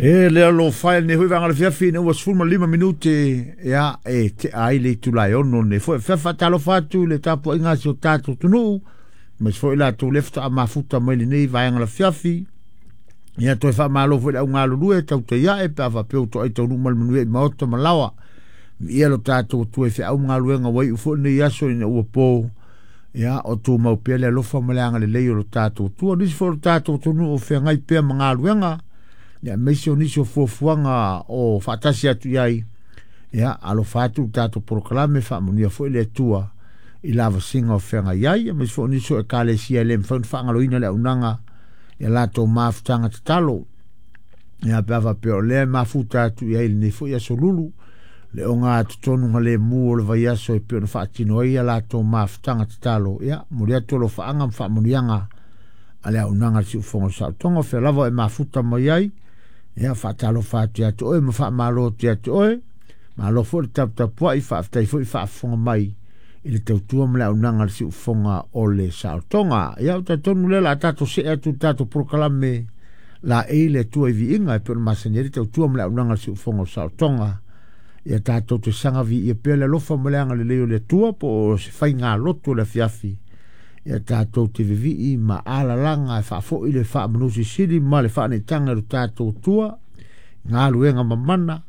E lea lo fai nei foi vanga le fiafi ina ua 15 minute ia e te ai le itula e 6 nei foi fa faatalofa atu i le tapuaiga a si o tatou atunuu aemaise foi latou le faatoa mafuta mai lenei vaega la fiafi. Ia toe faamalo foi le au galulue tautai ae pe a faapea ua toai taunuu ma le manuia i maota ma laoa. Viia lo tatou Atua i feau ma galuega ua iu foi lenei aso ina ua po. Ia, o tumau pea le alofa ma le agalelei o lo tatou Atua. O nisi foi o lo tatou atunuu o feagai pea ma galuega, ia, aemaise o nisi o fuafuaga o faatasi atu i ai, ia, alofa atu le tatou polokalame, faamanuia foi le Atua i lavasiga o feagai ai, aemaise foi o nisi o ekalesia e le mafai ona faagaloina le auaunaga i a latou mafutaga tatalo. Ia, pe a faapea o lea e mafuta atu i ai i lenei foi aso lulu, le ogatotonu lemu o le vaiaso e pei ona faatino ai a latou mafutaga tatalo, ia, momoli atu alofaaga ma faamanuiaga a le auaunaga a le Siufofoga o le Saolotoga, o fea lava e mafuta mai ai, ia, faatalofa atu ia te oe ma faamalo atu ia te oe, malo foi le taputapuai, faafetai foi faafofoga mai i le tautua ma le auaunaga a le Siufofoga o le Saolotoga. Ia, ou te talitonu lea o le a tatou see atu i le tatou polokalame laei le Atua i viiga e pei ona masani ai le tautua ma le auaunaga a le Siufofoga o le Saolotoga. Ia tatou te saga viia pea le alofa ma le agalelei o le Atua po o se faigalotu o le afiafi. Ia tatou te vivii ma alalaga e faafoi le faamanusilisili ma le faaneetaga i lo tatou Atua, galuega mamana,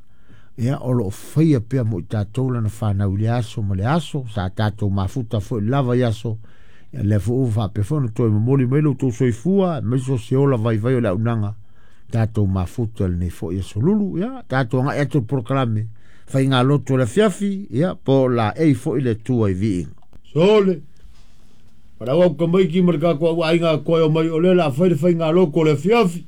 ia o lo o faia pea mo i tatou lana fanau i le aso ma le aso. Sa tatou mafuta foi lava i aso, ia lea foi ua faapea foi ona toe momoli mai lo outou soifua, aemaise o se ola vaivai o le auaunaga tatou mafuta lenei foi aso lulu. Ia tatou agai atu i le polokalame faigalotu o le afiafi, ia po o laei foi le Atua i viiga. Sole, Palau au tamaiti ma le tatou au aiga toe o mai o lea o le a fai le faigalotu o le afiafi.